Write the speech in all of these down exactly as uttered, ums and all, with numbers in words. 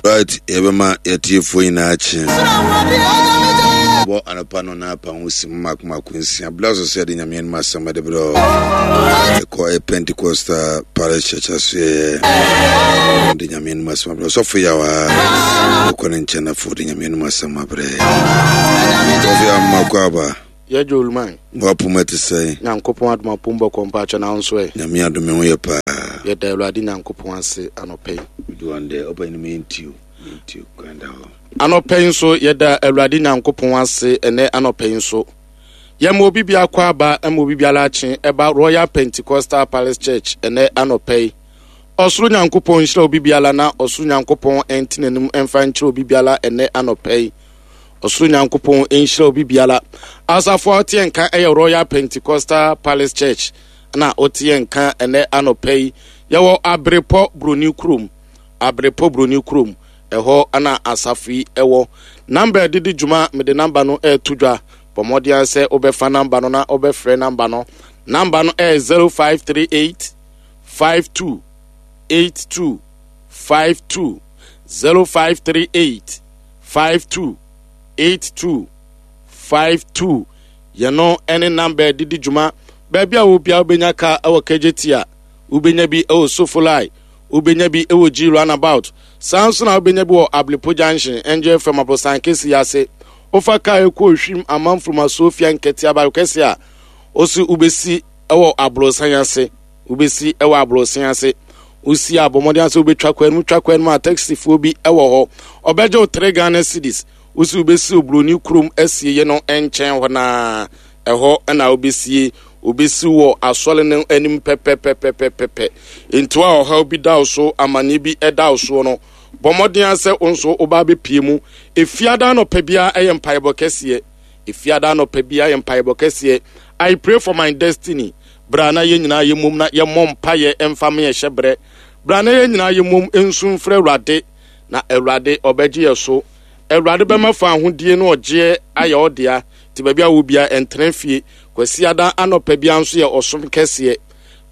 Right, yɛbɛma yɛtiefoɔ nyinaa kye bɔ anɔpa no na apa ho si mako mako nsia bla so sɛ yɛde Nyame anim asɛm de berɛ ɛkɔ ɛ Pentecostal Parish Church asoɛyɛ de Nyame anim asɛm abrɛ. Ɔsɔfo Yawa ɛkɔ ne nkyɛn afo de Nyame anim asɛm abrɛ. Ɔsɔfo Yawa, mmakɔ aba. Yɛgye oluman. Wapom ɛte sɛn? Nyankopɔn adom, apom bɔkɔ. Mpakyɛ, na wo nso ɛ? Nyame adom, ho yɛ paa. Yɛda Awurade Nyankopɔn ase anɔpɛ yi. Doan dɛ ɔba no yɛntiw yɛntiw kwan da hɔ. Anɔpɛ yi nso yɛda Awurade Nyankopɔn ase. Ɛnɛ anɔpɛ yi nso yɛma obi biako aba, ma obi biara akye ɛba Royal Pentecostal Palace Church. Ɛnɛ anɔpɛ yi, ɔsoro Nyankopɔn nhyira obi biara, na ɔsoro Nyankopɔn ɛnte n'anim ɛmfa nkyerɛ obi biara. Ɛnɛ anɔpɛ yi, ɔsoro Nyankopɔn nhyira obi biara. Asafo a ɔteɛ nka ɛyɛ Royal Pentecostal Palace Church na ɔteɛ nka. Ɛnɛ anɔpɛ yi yɛwɔ Aberepɔ Buroni kurom, Aberepɔ Buroni kurom ɛhɔ ana asafo yi ɛwɔ. Number a ɛdedi dwuma, mede number no ɛɛto dwa. Bɔ mmɔden sɛ wobɛfa number no na wobɛfrɛ number no. Number no ɛyɛ zero five three eight five two eight two five two, zero five three eight five two eight two five two. Yɛno ɛne number a ɛdedi dwuma. Baabi a wobia wobɛnya ka ɛwɔ Kejetia, wobɛnya bi ɛwɔ Sofoline, wobɛnya bi ɛwɔ G Roundabout, saa nso na wobɛnya bi wɔ Ablepo Junction, Angel F M abosan kɛsi ase. Wofa kaa ɛkɔ Ohwim Amanfroma Sofia Nkɛte abayo kɛse a osi, wobɛsi ɛwɔ aborosan ase, wobɛsi ɛwɔ aborosan ase. Wosi a, bɔ mmɔden ase wobɛtwa kwan mu, twa kwan mu a, taxifoɔ bi ɛwɔ hɔ, ɔbɛgye wo three Ghana cedis. Wosi wobɛsi Oburoni kurom asieɛ no nkyɛn hɔ naa, ɛhɔ ɛna wobɛsie. Wobɛsi wɔ asɔre no anim pɛpɛpɛpɛpɛpɛ. Nti a ɔhaw bi da wo so, amanneɛ bi ɛda wo soɔ no, bɔ mmɔden sɛ wo nso woba bɛpie mu. Efiada anɔpa biara ɛyɛ mpaebɔ kɛseɛ. Efiada anɔpa biara yɛ mpaebɔ kɛseɛ, "I Pray for My Destiny". Bra na yɛn nyinaa yɛ mom na yɛmmɔ mpayɛ ɛmfa me yɛhyɛ berɛ. Bra na yɛn nyinaa yɛ mom nsu mfrɛ Awurade, na Awurade ɔbɛgye yɛ so. Awurade bɛma fa ahodie no ɔgyeɛ ayɛ ɔdea. Nti baabi a wo bia, ɛntena fie. Kwasiada anɔpa bia nso yɛ ɔsom kɛseɛ.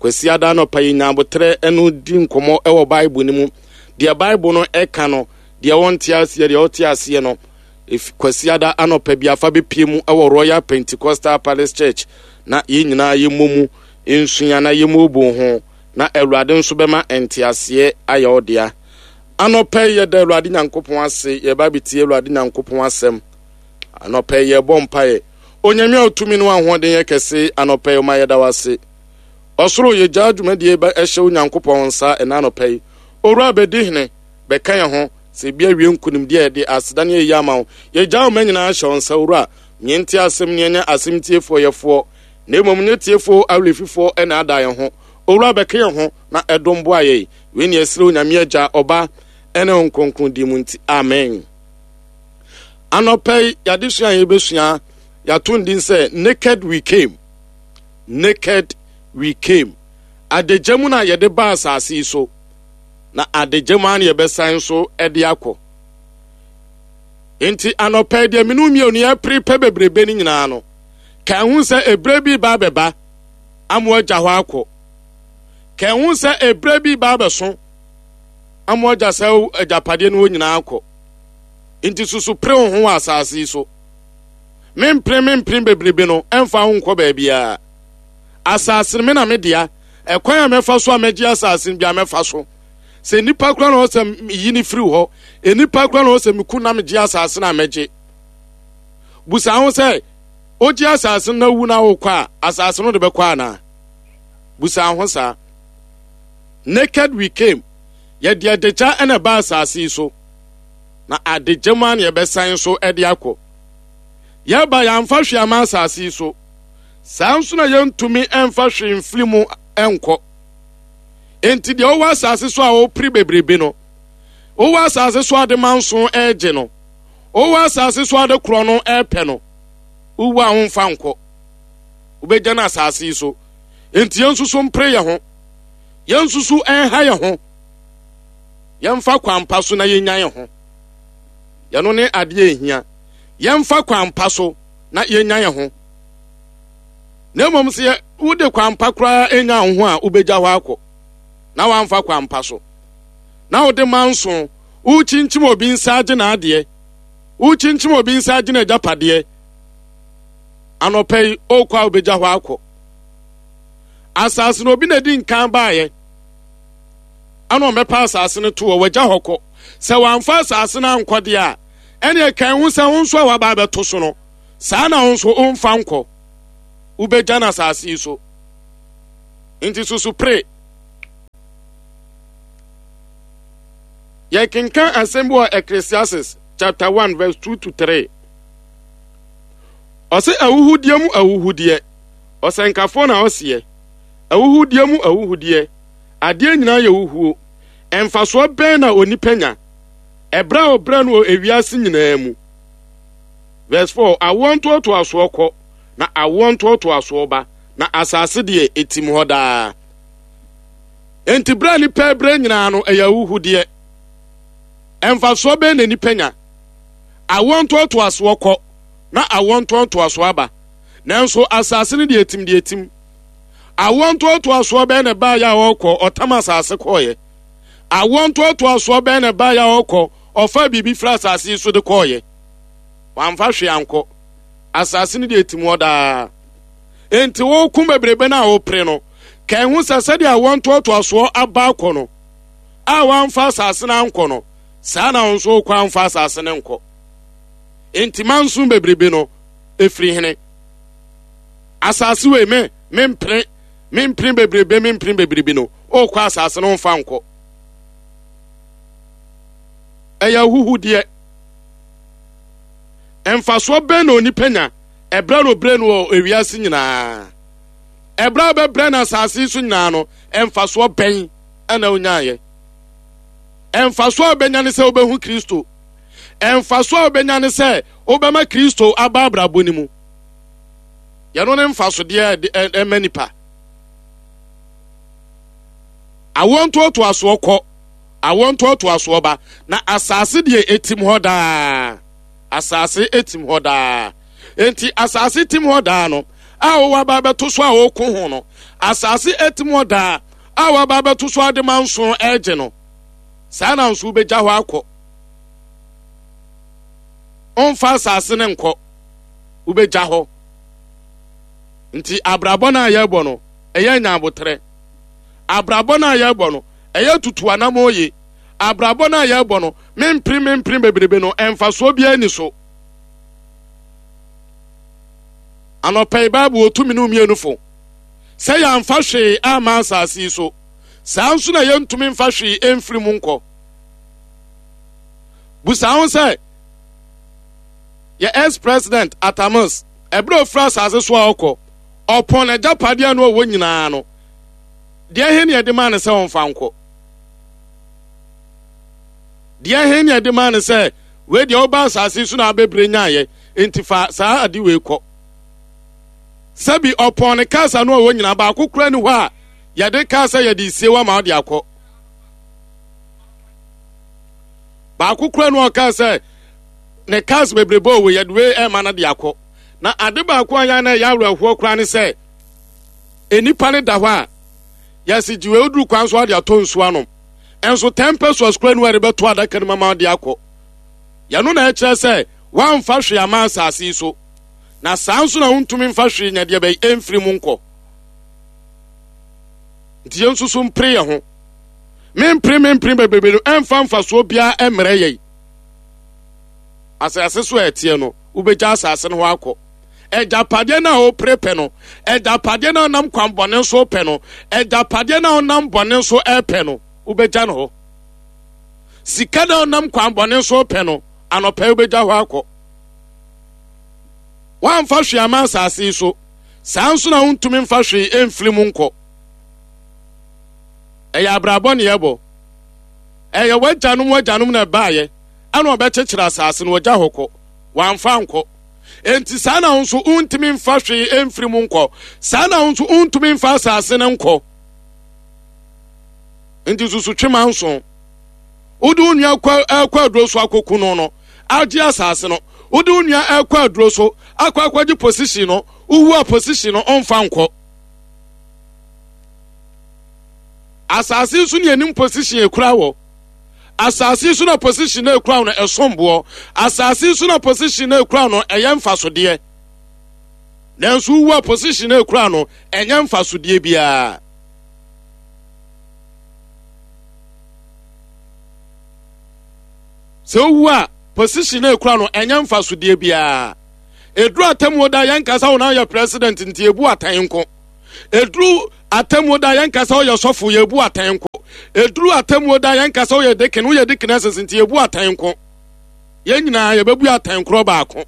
Kwasiada anɔpa yi nyabotrɛ ɛno di nkɔmmɔ ɛwɔ Bible no mu, deɛ Bible no ɛka no, deɛ wɔnte aseɛ, deɛ ɔte aseɛ no. Kwasiada anɔpa bi afa bɛpie mu ɛwɔ Royal Pentecostal Palace Church na yɛn nyinaa yɛmmɔ mu nsua na yɛmmɔɔbo ho, na Awurade nso bɛma nteaseɛ ayɛ ɔdea. Anɔpa yi yɛda Awurade Nyankopɔn ase. Yɛba bɛtie Awurade Nyankopɔn asɛm. Anɔpa yi yɛbɔ mpaeɛ. Onyame a ɔtumi no ahoɔden yɛ kɛse, anɔpa yi ɔma yɛda wo ase. Ɔsoro, yɛgyaa dwumadie bɛ ɛhyɛ wo Nyankopɔn nsa ɛna anɔpa yi. Owura, bɛdi hene, bɛka yɛn ho sɛ ebi awie nkonimdi a yɛde aseda ne yɛyi ama wo. Yɛgyaa wo ma nyinaa hyɛ wo nsa. Owura, nyɛ asɛm ne ɛnyɛ asɛm tiefoɔ yɛfoɔ, na mmom nyɛ tiefoɔ awerɛfifoɔ ɛna ada yɛn ho. Owura, bɛka yɛn ho na ɛdom boa yɛn. Wei ne yɛsrɛ Onyame Agya, Ɔba ɛne wo Nkronkron di mu nti, amen. Anɔpa yi yɛadesua a yɛbɛsua, yɛato ndin sɛ "Naked We Came". Naked We Came. Adagya mu na yɛde ba asase yi so, na adagya mu a na yɛbɛsan so de akɔ. Nti anɔpa yi, deɛ mene mmienu yɛpere pɛ bebrebe no nyinaa no, ka ɛho sɛ ebere bi ba abɛba ama agya hɔ akɔ. Ka ɛho sɛ ebere bi ba abɛso ama agya sɛ agyapadeɛ no wɔ nyinaa akɔ. Nti susu pere wo ho wɔ asase yi so. Mempere mempere bebrebe no ɛmfa ho nkɔ baabiara. Asase no me na me dea. Ɛkwan a mɛfa so a mɛgye asase no bi a mɛfa so sɛ nipa kora na ɔsɛ yi ne firi hɔ, nipa kora na ɔsɛ meku na megye asase no a mɛgye. Busa ho sɛ ogye asase no na wu na wokɔ a, asase no de bɛkɔ anaa? Busa ho saa. Naked we came. Yɛde adagya ɛna ɛba asase yi so, na adagya mu a na yɛbɛsan so ɛde akɔ. Yɛba, yɛamfa hwee ama asase yi so, saa nso na yɛntumi ɛmfa hwee mfiri mu ɛnkɔ. Enti deɛ ɔwɔ asase so a ɔpere bebrebe no, ɔwɔ asase so ade manso ɛregye no, ɔwɔ asase so ade korɔ no ɛrepɛ no, wowu a womfa nkɔ, wobɛgya no asase yi so. Enti yɛn nso so mpere yɛn ho, yɛn nso so ɛnha yɛn ho, yɛmfa kwan pa so na yɛnya yɛn ho. Yɛno ne adeɛ ehia, yɛmfa kwan pa so na yɛnya yɛn ho. Na mmom sɛ wode kwan pa koraa nya wo ho a, wobɛgya hɔ akɔ na wamfa kwan pa so na wode manso Wokyinkyim obi nsa agye n'adeɛ. Wokyinkyim obi nsa agye n'agyapadeɛ. Anɔpa yi, ɔrekɔ a wobɛgya hɔ akɔ. Asase no obi na di nkan baeɛ. Ɛna ɔmɛpa asase no to hɔ, wagya hɔ kɔ. Sɛ wamfa asase no ankɔ deɛ a, ɛne ɛkan ho sɛ wo nso a waba abɛto so no, saa na wo nso womfa nkɔ. Wobɛgya no asase yi so. Nti susu pere. Yɛkenkan asɛm bi wɔ Ecclesiastes chapter one verse two to three. Ɔse ahuhudeɛ mu ahuhudeɛ. Ɔsɛnkafoɔ na ɔseɛ. Ahuhudeɛ mu ahuhudeɛ. Adeɛ nyinaa yɛ huhuo. Ɛmfasoɔ bɛn na onipa nya? Ɛberɛ a ɔbrɛ no wɔ ewiase nyinaa mu. Verse four, awoɔ ntoatoasoɔ kɔ, na awoɔ ntoatoasoɔ ba, na asase deɛ etim hɔ daa. Enti berɛ a nipa brɛ nyinaa no, ɛyɛ ahuhudeɛ. Ɛmfasoɔ bɛn na nipa nya? Awoɔ ntoatoasoɔ kɔ, na awoɔ ntoatoasoɔ aba. Nanso asase no deɛ etim deɛ etim. Awoɔ ntoatoasoɔ bɛn na ɛbaeɛ a ɔrekɔ, ɔtam asase kɔɔeɛ. Awoɔ ntoatoasoɔ bɛn na ɛbaeɛ a ɔrekɔ, ɔfa biribi firi asase yi so de kɔɔeɛ. Wamfa hwee ankɔ. Asase no deɛ etim hɔ daa. Enti woko bebrebe no a wopere no, ka ɛho sɛ sɛdeɛ awoɔ ntoatoasoɔ aba akɔ no, a wamfa asase no ankɔ no, saa na wo nso wokɔ amfa asase no nkɔ. Enti manso bebrebe no, efiri hene. Asase wei me, mempere, mempere bebrebe, mempere bebrebe no, wokɔ asase no mfa nkɔ. Ɛyɛ ahuhudeɛ. Mfasoɔ bɛn na onipa nya ɛbrɛ no brɛ no wɔ ewiase nyinaa? Ɛbrɛ a bɛbrɛ no asase so nyinaa no, mfasoɔ bɛn ɛna onyaayɛ? Mfasoɔ a wobɛnya ne sɛ wobɛhu Kristo. Mfasoɔ a wobɛnya ne sɛ wobɛma Kristo aba abrabɔ no mu. Yɛno ne mfasodeɛ a ɛma nipa. Awoɔ ntoatoasoɔ kɔ, awoɔ ntoatoasoɔ ba, na asase deɛ etim hɔ daa. Asase etim hɔ daa. Enti asase tim hɔ daa no, a wɔwɔ aba abɛto so a wɔko ho no, asase etim hɔ daa a wɔaba abɛto so ade ma nson ɛregye no, saa na nso wobɛgya hɔ akɔ. Ɔmfa asase no nkɔ, wobɛgya hɔ. Nti abrabɔ no a yɛrebɔ no, ɛyɛ nyabotrɛ. Abrabɔ no a yɛrebɔ no, ɛyɛ tutu anam oye. Abrabɔ no a yɛrebɔ no, mempere mempere bebrebe no, ɛmfasoɔ biara ni so. Anɔpa yi Bible otumi ne mmienu fo. Sɛ yɛamfa hwee amma asase yi so, saa nso na yɛntumi mfa hwee ɛmfiri mu nkɔ. Busa ho sɛ, yɛ ex-president Atamus, ɛberɛ a ofiri asase so a ɔkɔ, ɔpɔn n'agyapadeɛ no ɔwɔ nyinaa no, deɛ he ne yɛde maa no sɛ ɔmfa nkɔ? Deɛ he ne yɛde maa no sɛ, wei deɛ ɔba asase so na abɛbrɛ nyaayɛ, enti fa saa ade wei kɔ. Sɛbi ɔpɔn ne kaasa no a ɔwɔ nyinaa, baako kura ni hɔ a yɛde kaasa yɛde sie wa ma ɔde akɔ. Baako kura no ɔkaa sɛ ne kaasa bebrebe ɔwɔ yɛde wei ɛma no de akɔ. Na ade baako a yɛn na ɛyɛ awerɛhoɔ kura ne sɛ enipa ne da hɔ a yɛsi gye wei oduru kwan so ade atɔ nsuo anom. Ɛnso ten pesos kura no a yɛde bɛto adaka no mu ama ɔde akɔ. Yɛno na ɛkyerɛ sɛ wamfa hwee ama asase yi so. Na saa nso na wontumi mfa hwee nya deɛ bɛyi ɛmfiri mu nkɔ. Nti yɛn nso so mpere yɛn ho. Mempere mempere bebrebe no ɛmfa mfasoɔ biara ɛmmerɛ yɛn. Asase so a ɛteɛ no, wobɛgya asase no hɔ akɔ. Agyapadeɛ no a wopere pɛ no, agyapadeɛ no a wonam kwan bɔne so pɛ no, agyapadeɛ no a wonam bɔne so ɛpɛ no, wobɛgya no hɔ. Sika no a wonam kwan bɔne so pɛ no, anɔpa wobɛgya hɔ akɔ. Wamfa hwee ama asase yi so, saa nso na wontumi mfa hwee ɛmfiri mu nkɔ. Ɛyɛ abrabɔ ne yɛbɔ. Ɛyɛ w'agyanom w'agyanom na ɛbaayɛ, ɛna ɔbɛkyekyere asase no wɔgya hɔ kɔ. Wamfa nkɔ. Enti saa na wo nso wontumi mfa hwee ɛmfiri mu nkɔ. Saa na wo nso wontumi mfa asase no nkɔ. Enti susu twe ma nson. Wode wo nua kɔ ɛkɔ aduro so akɔku no no, agye asase no. Wode wo nua ɛkɔ aduro so akɔ akɔgye position no, wowu a position no ɔmfa nkɔ. Asase nso ne anim position ekura wɔ. Asase so na position na ekura no ɛsom boɔ. Asase so na position na ekura no ɛyɛ mfasodeɛ. Nanso wowu a, position na ekura no ɛnyɛ mfasodeɛ biara. Sɛ wowu a, position na ekura no ɛnyɛ mfasodeɛ biara. Eduru atemmuo da, yɛn kasa wɔn ayɛ president nti ebu atan nko. Eduru atemmuo da, yɛn kasa ɔyɛ sɔfo, yɛ ebu atan nko. Eduru atemmuo da, yɛn kasa ɔyɛ deacon, ɔyɛ deaconess nti ebu atan nko. Yɛn nyinaa yɛbɛbu atan korɔ baako.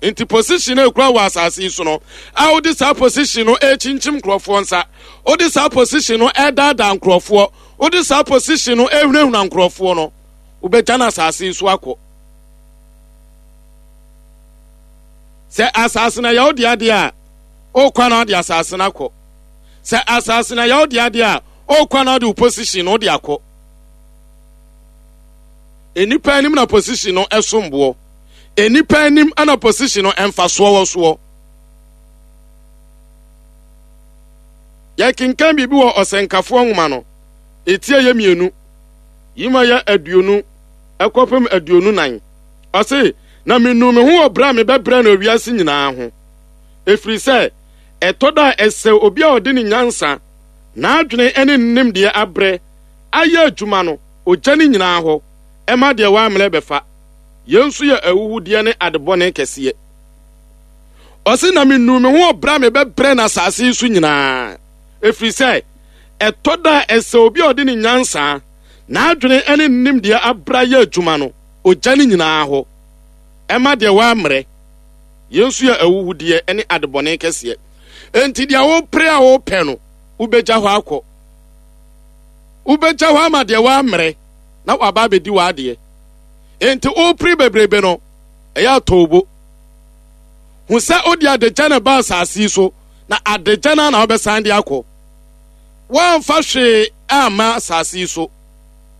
Nti position na ekura wɔ asase yi so no a, wode saa position no ekyinkyim nkurɔfoɔ nsa, wode saa position no ɛdaadaa nkurɔfoɔ, wode saa position no ehunahuna nkurɔfoɔ no, wobɛgya no asase yi so akɔ. Sɛ asase na yɛwo de adeɛ a, ɔrekɔ na ɔde asase no akɔ. Sɛ asase na yɛwo de adeɛ a, ɔrekɔ na ɔde wo position no wode akɔ. Nnipa anim na position no ɛsom boɔ. Nnipa anim ana position no ɛmfasoɔ wɔ soɔ. Yɛkenkan biribi wɔ Ɔsɛnkafoɔ nwoma no etie yɛ mmienu yima yɛ aduonu ɛkɔpem aduonu nan. Ɔse, "Na menu me ho wɔ berɛ a mebɛbrɛ no awiase nyinaa ho, ɛfiri sɛ ɛtɔ da a ɛsɛ obi a ɔde ne nyansa, n'adwene ne ne nimdeɛ abrɛ ayɛ adwuma no, ogya ne nyinaa hɔ ɛma deɛ wammerɛ bɛfa. Yɛn nso yɛ ahuhudeɛ ne adebɔne kɛseɛ." Ɔse, "Na menu me ho wɔ berɛ a mebɛbrɛ no asase yi so nyinaa, ɛfiri sɛ ɛtɔ da a ɛsɛ obi a ɔde ne nyansa, n'adwene ne ne nimdeɛ abrɛ ayɛ adwuma no, ogya ne nyinaa hɔ ɛma deɛ wammerɛ. Yɛn nso yɛ ahuhudeɛ ne adebɔne kɛseɛ." Enti deɛ wopere a wopɛ no, wobɛgya hɔ akɔ. Wobɛgya hɔ ama deɛ wammerɛ na waba abɛdi w'adeɛ. Enti wopere bebrebe no, ɛyɛ atɔwbo hu sɛ wode adagya no ba asase yi so, na adagya no na wobɛsan de akɔ. Woamfa hwee amma asase yi so,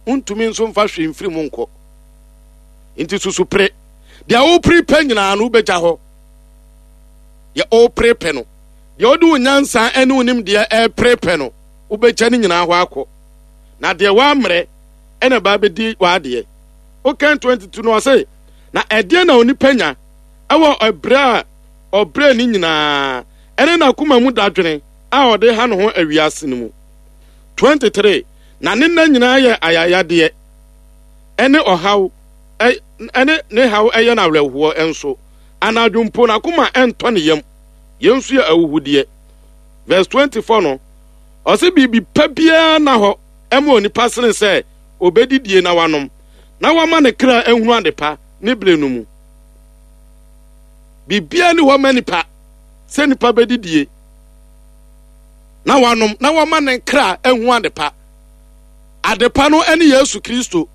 wontumi nso mfa hwee mfiri mu nkɔ. Nti susu pere. Deɛ wopere pɛ nyinaa no, wobɛgya hɔ. Deɛ wopere pɛ no, deɛ wode wo nyansa ne wo nimdeɛ ɛpere pɛ no, wobɛgya no nyinaa hɔ akɔ, na deɛ woammerɛ ɛna ba bɛdi w'adeɛ. Wokan aduonu mmienu no, ɔse, "Na ɛdeɛ na onipa nya ɛwɔ ɛberɛ a ɔbrɛ ne nyinaa ɛne n'akoma mu dadwene a ɔde ha ne ho awiase no mu?" aduonu mmiɛnsa, "Na ne nna nyinaa yɛ ayayadeɛ ɛne ɔhaw, ɛne ne haw ɛyɛ no awerɛhoɔ nso. Anadwo mpo n'akoma ɛntɔ ne yam. Yɛn nso yɛ ahuhudeɛ." Verse aduanan nnan no, ɔse, "Biribi pa biara na hɔ ɛma onipa sene sɛ obɛdidie na wanom na wama ne kra ahunu adepa ne bere no mu." Biribiara ni hɔ ma nipa sɛ nipa bɛdidie na wanom na wama ne kra ahu adepa. Adepa no ne Yesu Kristo.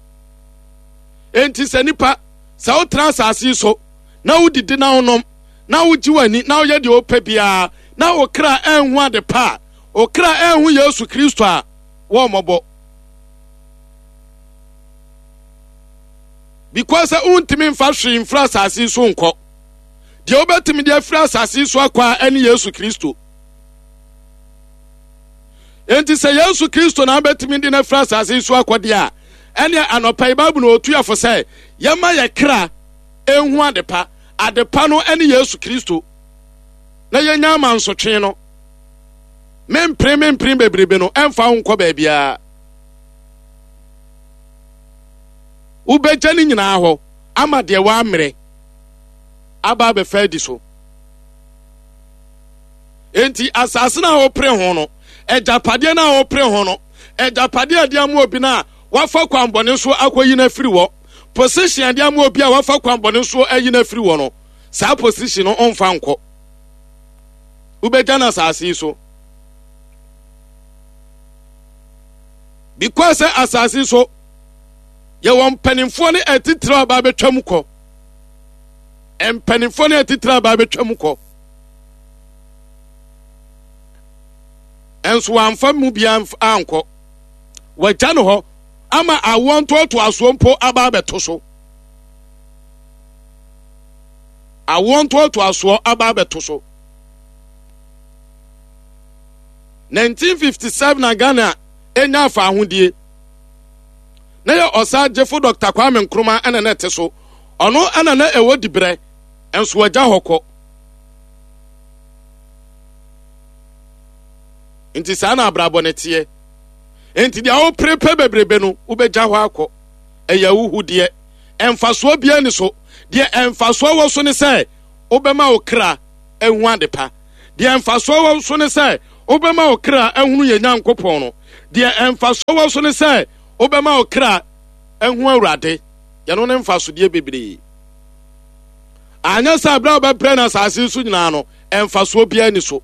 Enti sɛ nipa sɛ wotena asase yi so na wodidi na wonom na wogye w'ani na woyɛ deɛ wopɛ biara na wo kra anhu adepa a, wo kra anhu Yesu Kristo a, wɔmmɔbɔ, because sɛ wontumi mfa hwee mfiri asase yi so nkɔ. Deɛ wobɛtumi de afiri asase yi so akɔ a, ɛne Yesu Kristo. Enti sɛ Yesu Kristo na wobɛtumi de no afiri asase yi so akɔ deɛ a, ɛne anɔpa yi Bible na ɔtu afo sɛ yɛma yɛ kra ɛnhu adepa. Adepa no ɛne Yesu Kristo, na yɛnya ama nsotwe no. Mempere mempere bebrebe no, ɛmfa wo nkɔ baabiara. Wobɛgya no nyinaa hɔ ama deɛ woammerɛ aba abɛfa adi so. Enti asase no a wopere ho no, agyapadeɛ no a wopere ho no, agyapadeɛ a ɛde ama obi no a wafa kwanbɔne so akɔyi no afiri hɔ, position a ɛde ama obi a wafa kwanbɔne so ayi no afiri hɔ no, saa position no ɔmfa nkɔ. Wobɛgya no asase yi so, because sɛ asase yi so yɛwɔ mpanimfoɔ ne atitire a ɔba abɛtwa mu kɔ. Mpanimfoɔ ne atitire a aba abɛtwa mu kɔ nso wamfa mu bia ankɔ. Wagya no hɔ ama awoɔ ntoatoasoɔ mpo aba abɛto so. Awoɔ ntoatoasoɔ aba abɛto so. nineteen fifty-seven na Ghana enya afa ahodie. Na yɛ Ɔsagyefo Dɔkta Kwame Nkrumah ɛna na ɛte so. Ɔno ɛna na ɛwɔ dibrɛ, nso wagya hɔ kɔ. Nti saa na abrabɔ ne teɛ. Nti deɛ wopere pɛ bebrebe no, wobɛgya hɔ akɔ. Ɛyɛ ahuhudeɛ. Ɛmfasoɔ biara ni so. Deɛ ɛmfasoɔ wɔ so ne sɛ wobɛma wo kra ahu ade pa. Deɛ ɛmfasoɔ wɔ so ne sɛ wobɛma wo kra ahunu yɛ Nyankopɔn no. Deɛ ɛmfasoɔ wɔ so ne sɛ wobɛma wo kra ahu Awurade. Yɛno ne mfasodeɛ bebree. Anyɛ sɛ berɛ a wobɛbrɛ no asase so nyinaa no, ɛmfasoɔ biara ni so.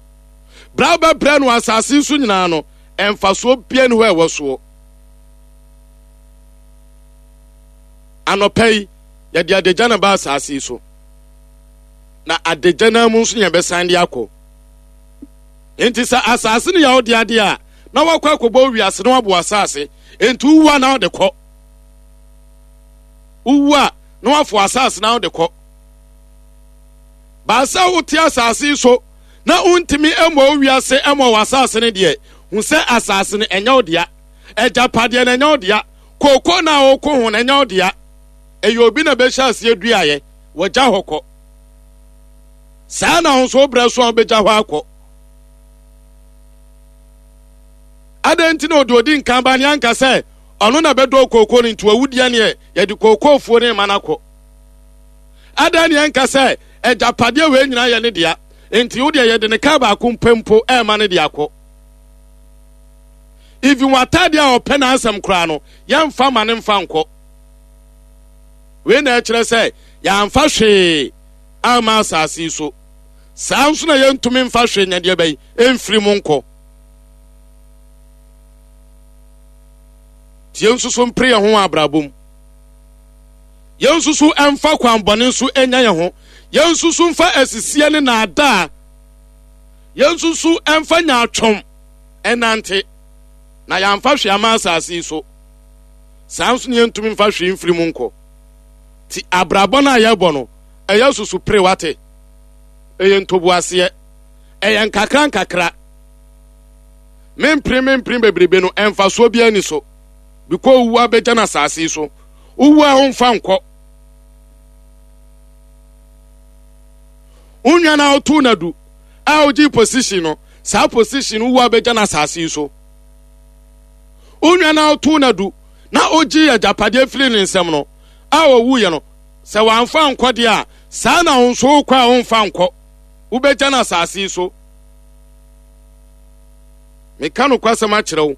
Berɛ a wobɛbrɛ no asase so nyinaa no, ɛmfasoɔ biara ni hɔ a ɛwɔ soɔ. Anɔpa yi, yɛde adagya na ba asase yi so. Na adagya no mu nso yɛbɛsan de akɔ. Enti sɛ asase no yɛ wo de adeɛ a, na wakɔ akɔbɔ wiase na waboa asase. Enti wowu a na wode kɔ. Wowu a na wafo asase na wode kɔ. Baasa wote asase yi so na wontumi mmɔ wo wiase mmɔ wɔ asase no deɛ, hu sɛ asase no ɛnyɛ wo dea. Agyapadeɛ no ɛnyɛ wo dea. Kooko na woko ho no ɛnyɛ wo dea. Ɛyɛ obi na bɛhyɛ aseɛ duaeɛ, wɔgya hɔ kɔ. Saa na wo nso wobrɛ so a wobɛgya hɔ akɔ. Adɛn nti na ɔde odi nkan ba ne anka sɛ ɔno na bɛdɔ kooko no nti wawudeɛ neɛ yɛde kookoofuo ne ma no akɔ? Adɛn ne ɛnka sɛ agyapadeɛ wei nyinaa yɛ ne dea nti wo deɛ yɛde ne kaa baako mpɛ mpo ɛma ne de akɔ? Even w'ataadeɛ a ɔpɛ n'asɛm koraa no, yɛmfa ma ne mfa nkɔ. Wei na ɛkyerɛ sɛ yɛamfa hwee amma asase yi so. Saa nso na yɛntumi mfa hwee nyɛ deɛ bɛyi ɛmfiri mu nkɔ. Nti yɛn nso so mpere yɛn ho wɔ abrabɔ mu. Yɛn nso so mfa kwan bɔne nso nya yɛn ho. Yɛn nso so mfa asisie ne naadaa. Yɛn nso so mfa nyaatwom ɛnante. Na yɛamfa hwee ama asase yi so. Saa nso na yɛntumi mfa hwee mfiri mu nkɔ. Ti abrabɔ no a yɛbɔ no, ɛyɛ susu pere wate. Ɛyɛ ntoboaseɛ. Ɛyɛ nkakra nkakra. Mempere mempere bebrebe no, ɛmfasoɔ biara ni so. Bikɔ owu abɛgya no asase yi so. Owu a womfa nkɔ. Wo nua no a wotow no adu a wogye position no, saa position no owu abɛgya no asase yi so. Wo nua no a wotow no adu na ogye agyapadeɛ firi ne nsam no a ɔwuiɛ no, sɛ wamfa nkɔ deɛ a, saa na wo nso wokɔ a womfa nkɔ. Wobɛgya no asase yi so. Meka nokwasɛm akyerɛ wo.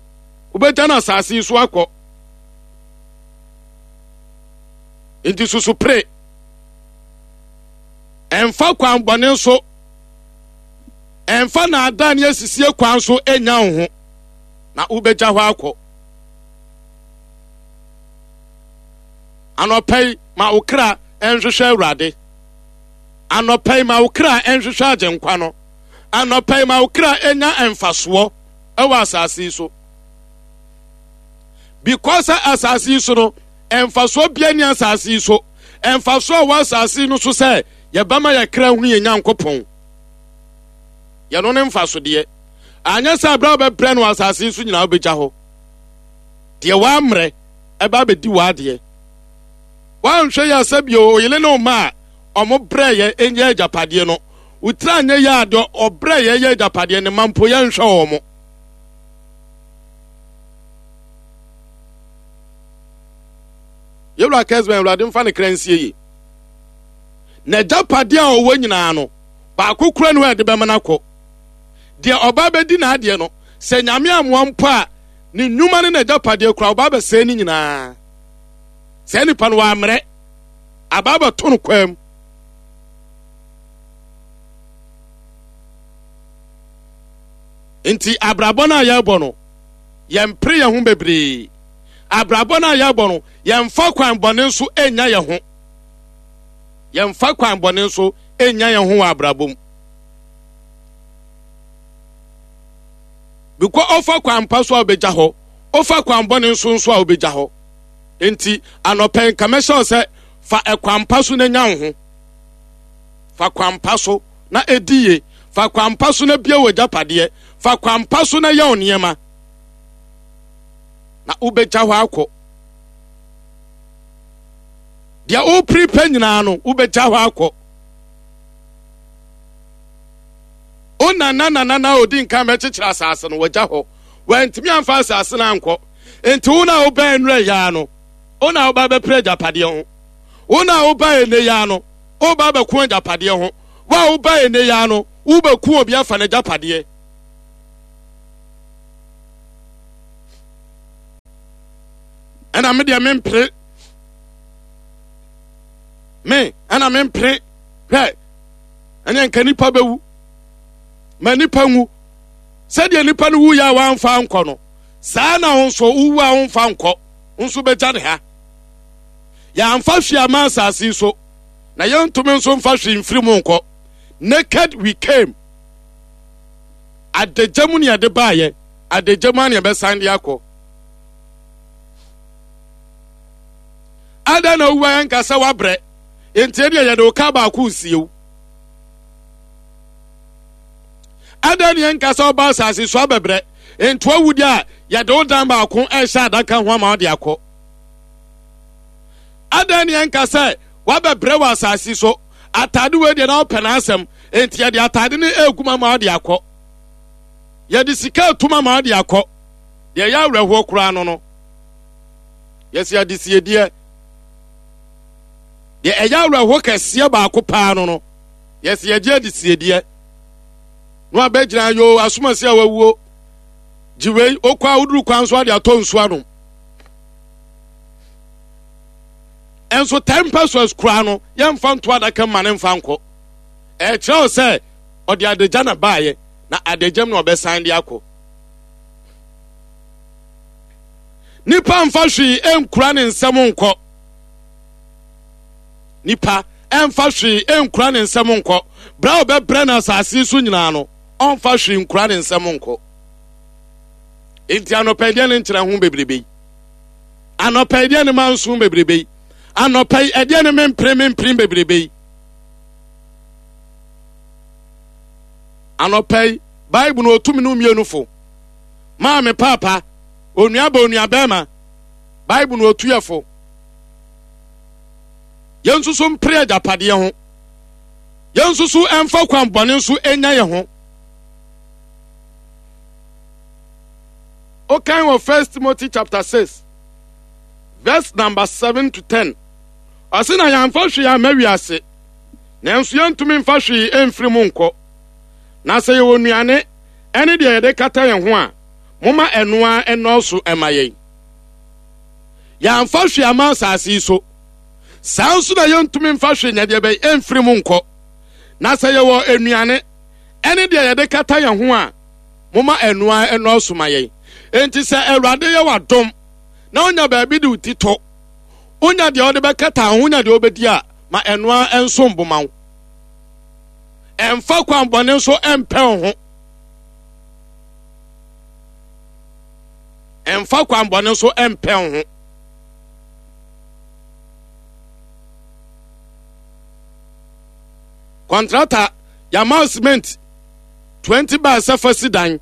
Wobɛgya no asase yi so akɔ. Nti susu pere. Ɛmfa kwan bɔne so. Ɛmfa naadaa ne asisie kwan so nya wo ho. Na wobɛgya hɔ akɔ. Anɔpa yi, ma wo kra nhwehwɛ Awurade. Anɔpa yi, ma wo kra nhwehwɛ Agyenkwa no. Anɔpa yi, ma wo kra nya mfasoɔ ɛwɔ asase yi so. Because asase yi so no, mfasoɔ bia ni asase yi so. Mfasoɔ a wɔ asase yi no so sɛ yɛbɛma yɛ kra hunu yɛ Nyankopɔn. Yɛno ne mfasodeɛ. Anyɛ sɛ abere a wobɛbrɛ no asase yi so nyinaa wobɛgya hɔ. Deɛ woammerɛ ɛba abɛdi w'adeɛ. Woanhwɛ yɛ sɛ bio oyele ne ɔma a ɔmo brɛ yɛ ɛnyɛ agyapadeɛ no. Wotiri anyɛ yɛ a deɛ ɔbrɛ yɛ yɛ agyapadeɛ ne ma mpo yɛnhwɛ wɔn. Yɛwura Kesben Awurade mfa ne kra nsie yi. Na agyapadeɛ a ɔwɔ nyinaa no, baako kura ne hɔ a yɛde bɛma no akɔ. Deɛ ɔba bɛdi n'adeɛ no, sɛ Nyame amoa mpo a, ne nnwuma ne n'agyapadeɛ kura ɔba bɛsɛe ne nyinaa. Sɛ nipa no wammerɛ, aba abɛto no kwam. Nti abrabɔ no a yɛrebɔ no, yɛmpere yɛn ho bebree. Abrabɔ no a yɛrebɔ no, yɛmfa kwan bɔne nso nya yɛn ho. Yɛmfa kwan bɔne nso nya yɛn ho wɔ abrabɔ mu. Bikɔ ɔfa kwan pa so a wobɛgya hɔ, ɔfa kwan bɔne nso nso a wobɛgya hɔ. Nti anɔpɛ nka mɛhyɛ wo sɛ fa ɛkwan pa so na nya wo ho. Fa kwan pa so na ɛdi yie. Fa kwan pa so na bie wɔ agyapadeɛ. Fa kwan pa so na yɛ wo nneɛma. Na wobɛgya hɔ akɔ. Deɛ wopere pɛ nyinaa no, wobɛgya hɔ akɔ. Wo nana nana na odi nkan bɛkyekyere asase no, wagya hɔ. Wantumi amfa asase no ankɔ. Nti wo na wobɛn nnura yaa no, wo na woba bɛpere agyapadeɛ ho. Wo na woba ene yaa no, woba bɛko agyapadeɛ ho. Wo a woba ene yaa no, wobɛku obi afa n'agyapadeɛ. Ɛna me deɛ mempere. Me, ɛna mempere. Hwɛ, ɛnyɛ nka nipa bɛwu. Ma nipa nwu. Sɛdeɛ nipa no wuyɛ a wamfa nkɔ no, saa na wo nso wowu a womfa nkɔ. Wo nso bɛgya ne ha. Yɛamfa hwee ama asase yi so, na yɛntumi nso mfa hwee mfiri mu nkɔ. Naked we came. Adagya mu ne yɛde baayɛ, adagya mu a ne yɛbɛsan de akɔ. Adɛn na wowu a yɛnka sɛ woabrɛ? Enti ɛdeɛ yɛde wo ka baako nsie wo. Adɛn ne yɛnka sɛ woba asase so abɛbrɛ? Enti wawu deɛ a yɛde wo dan baako ɛhyɛ adaka ho ama wode akɔ. Adɛn ne yɛnka sɛ wabɛbrɛ wɔ asase so? Atade wei deɛ na wopɛ n'asɛm, enti yɛde atade no egu ma ma wode akɔ. Yɛde sika etu ma ma wode akɔ. Deɛ ɛyɛ awerɛhoɔ koraa no no, yɛsi adesiedeɛ. Deɛ ɛyɛ awerɛhoɔ kɛseɛ baako paa no no, yɛsi yɛgye adesiedeɛ. Na wabɛgyina yoo asomasi a wawuo. Gye wei, okɔ a woduru kwan so ade atɔ nsuo anom. Ɛnso ten pesos koraa no, yɛmfa nto adaka mma ne mfa nkɔ. Ɛkyerɛ wo sɛ ɔde adagya na baayɛ, na adagya mu na ɔbɛsan de akɔ. Nipa mfa hwee nkura ne nsam nkɔ. Nipa mfa hwee nkura ne nsam nkɔ. Bra a ɔbɛbrɛ no asase so nyinaa no, ɔmfa hwee nkura ne nsam nkɔ. Enti anɔpa deɛ ne nkyerɛ ho bebrebe yi. Anɔpa deɛ ne manso bebrebe yi. Anɔpa yi ɛdeɛ ne mempere mempere bebrebe yi. Anɔpa yi Bible no otumi no mmienu fo. Maame paapa, onua ba onua bɛrima. Bible no otu yɛ fo. Yɛn nso so mpere agyapadeɛ ho. Yɛn nso so ɛmfa kwan bɔne nso enya yɛn ho. Okan wɔ First Timothy chapter six verse number seven to ten. Ɔse na yɛamfa hwee amma wiase, nanso yɛntumi mfa hwee mfiri mu nkɔ. Na sɛ yɛwɔ nnuane ɛne deɛ yɛde kata yɛn ho a, momma ɛno ara ɛnnɔɔso ɛma yɛn. Yɛamfa hwee amma asase yi so, saa nso na yɛntumi mfa hwee nyɛ deɛ bɛyɛ ɛmfiri mu nkɔ. Na sɛ yɛwɔ nnuane ɛne deɛ yɛde kata yɛn ho a, momma ɛno ara ɛnnɔɔso ma yɛn. Enti sɛ Awurade yɛ w'adom na wonya baabi de wo ti to, wonya deɛ wode bɛkata ho, wonya deɛ wobɛdi a, ma ɛno ara ɛnsom bo ma wo. Ɛmfa kwan bɔne nso ɛmpɛ wo ho. Ɛmfa kwan bɔne nso ɛmpɛ wo ho. Kɔntrata yɛama cement twenty bags sɛ fa si dan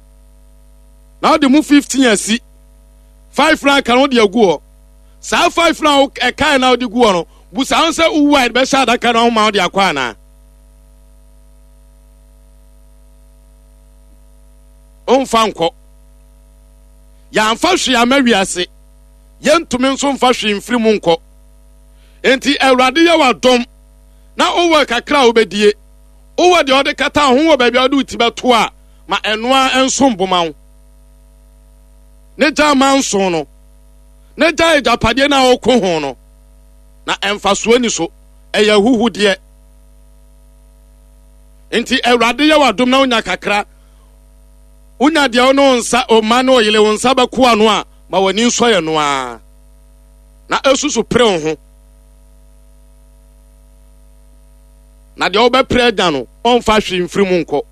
na wode mu fifteen asi, five na aka no wode agu hɔ. Saa five na ɛkae na wode gu hɔ no, busa ho sɛ wowu a yɛde bɛhyɛ adaka no ahoma wode akɔ anaa? Ɔmfa nkɔ. Yɛamfa hwee ama wiase, yɛntumi nso mfa hwee mfiri mu nkɔ. Enti Awurade yɛ w'adom na wowɔ kakra a wobɛdie, wowɔ deɛ ɔde kata ho wɔ baabi a wode wo ti bɛto a, ma ɛno ara nso mboma wo. Ne gya ma nso no, ne gya agyapadeɛ no a woko ho no, na ɛmfasoɔ ni so, ɛyɛ ahuhudeɛ. Nti Awurade yɛ w'adom na wonya kakra, wonya deɛ wo ne wo nsa, wo mma ne wo yere wo nsa bɛko ano a, ma w'ani nsɔ yɛ no ara, na esusu pere wo ho. Na deɛ wobɛpere agya no, ɔmfa hwee mfiri mu nkɔ.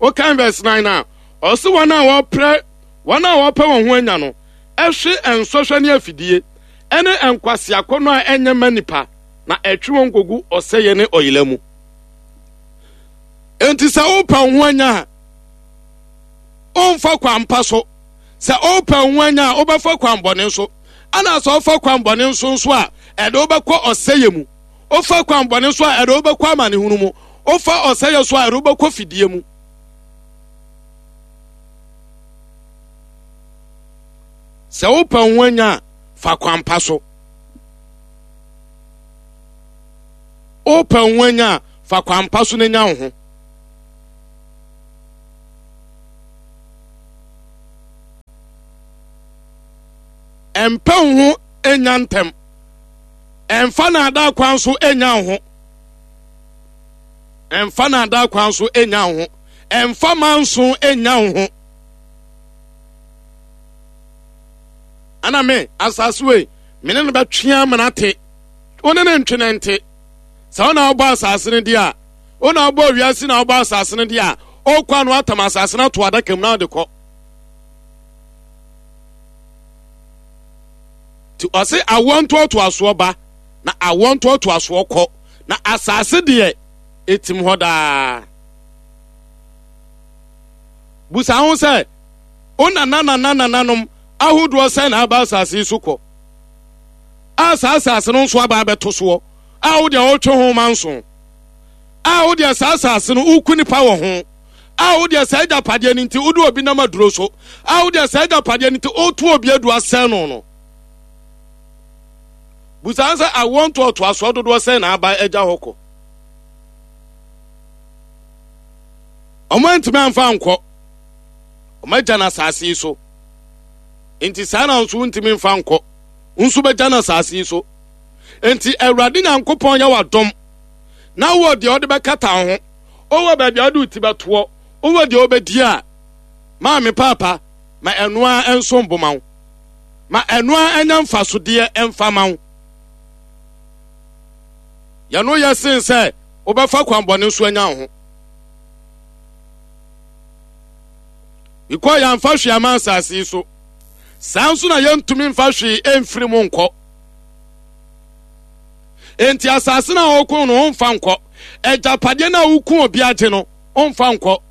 Wokan verse nine a, ɔse wɔn a wɔpere, wɔn a wɔpɛ wɔn ho anya no, ɛhwe nsɔhwɛ ne afidie, ɛne nkwaseakɔnnɔ a ɛnyɛ ma nipa, na ɛtwe wɔn kogu ɔsɛeɛ ne ɔyela mu. Enti sɛ wopɛ wo ho anya a, ɔmfa kwan pa so. Sɛ wopɛ wo ho anya a, wobɛfa kwan bɔne so. Ana sɛ wofa kwanbɔne nso nso a, ɛde wobɛkɔ ɔsɛeɛ mu. Wofa kwanbɔne nso a, ɛde wobɛkɔ amanehunu mu. Wofa ɔsɛeɛ so a, ɛde wobɛkɔ fidie mu. Sɛ wopɛ ho anya a, fa kwampa so. Wopɛ ho anya a, fa kwampa so na nya wo ho. Ɛmpɛ wo ho nya ntɛm. Ɛmfa naadaa kwan so nya wo ho. Ɛmfa naadaa kwan so nya wo ho. Ɛmfa manso nya wo ho. Ana me asase wei me ne no bɛtwe amena te. Wo ne ne ntwe ne nte. Sɛ wo na wobɔ asase no di a, wo na wobɔ wiase na wobɔ asase no di a, ɔkɔ ano atam asase no ato adaka mu na wode kɔ. Nti ɔse awoɔ ntoatoasoɔ ba na awoɔ ntoatoasoɔ kɔ, na asase deɛ ɛtim hɔ daa. Busa ho sɛ, wo nana nana nananom ahodoɔ sɛn na aba asase yi so kɔ, a saa asase no nso aba abɛto soɔ, a wo deɛ wotwe ho ma nso, a wo deɛ saa asase no woku nipa wɔ ho, a wo deɛ saa agyapadeɛ no nti wode obi nam aduro so, a wo deɛ saa agyapadeɛ no nti woto obi adu asɛn no no. Busa sɛ awoɔ ntoatoasoɔ dodoɔ sɛn na aba agya hɔ kɔ. Ɔmo antumi amfa nkɔ, ɔmo agya no asase yi so. Nti saa na nso wontumi mfa nkɔ, nso bɛgya no asase yi so. Nti Awurade Nyankopɔn yɛ w'adom na wɔ deɛ ɔde bɛkata wo ho, wowɔ baabi a wode wo ti bɛtoɔ, wowɔ deɛ wobɛdi a, maame paapa, ma ɛnoa nso mboma wo, ma ɛnoa anya mfasodeɛ ɛmfa ma wo. Yɛno yɛ sen sɛ wobɛfa kwanbɔne nso anya wo ho. Because yɛamfa hwee ama asase yi so, saa nso na yɛntumi mfa hwee ɛmfiri mu nkɔ. Enti asase no a wɔko no womfa nkɔ, agyapadeɛ no a woko obi agye no womfa nkɔ,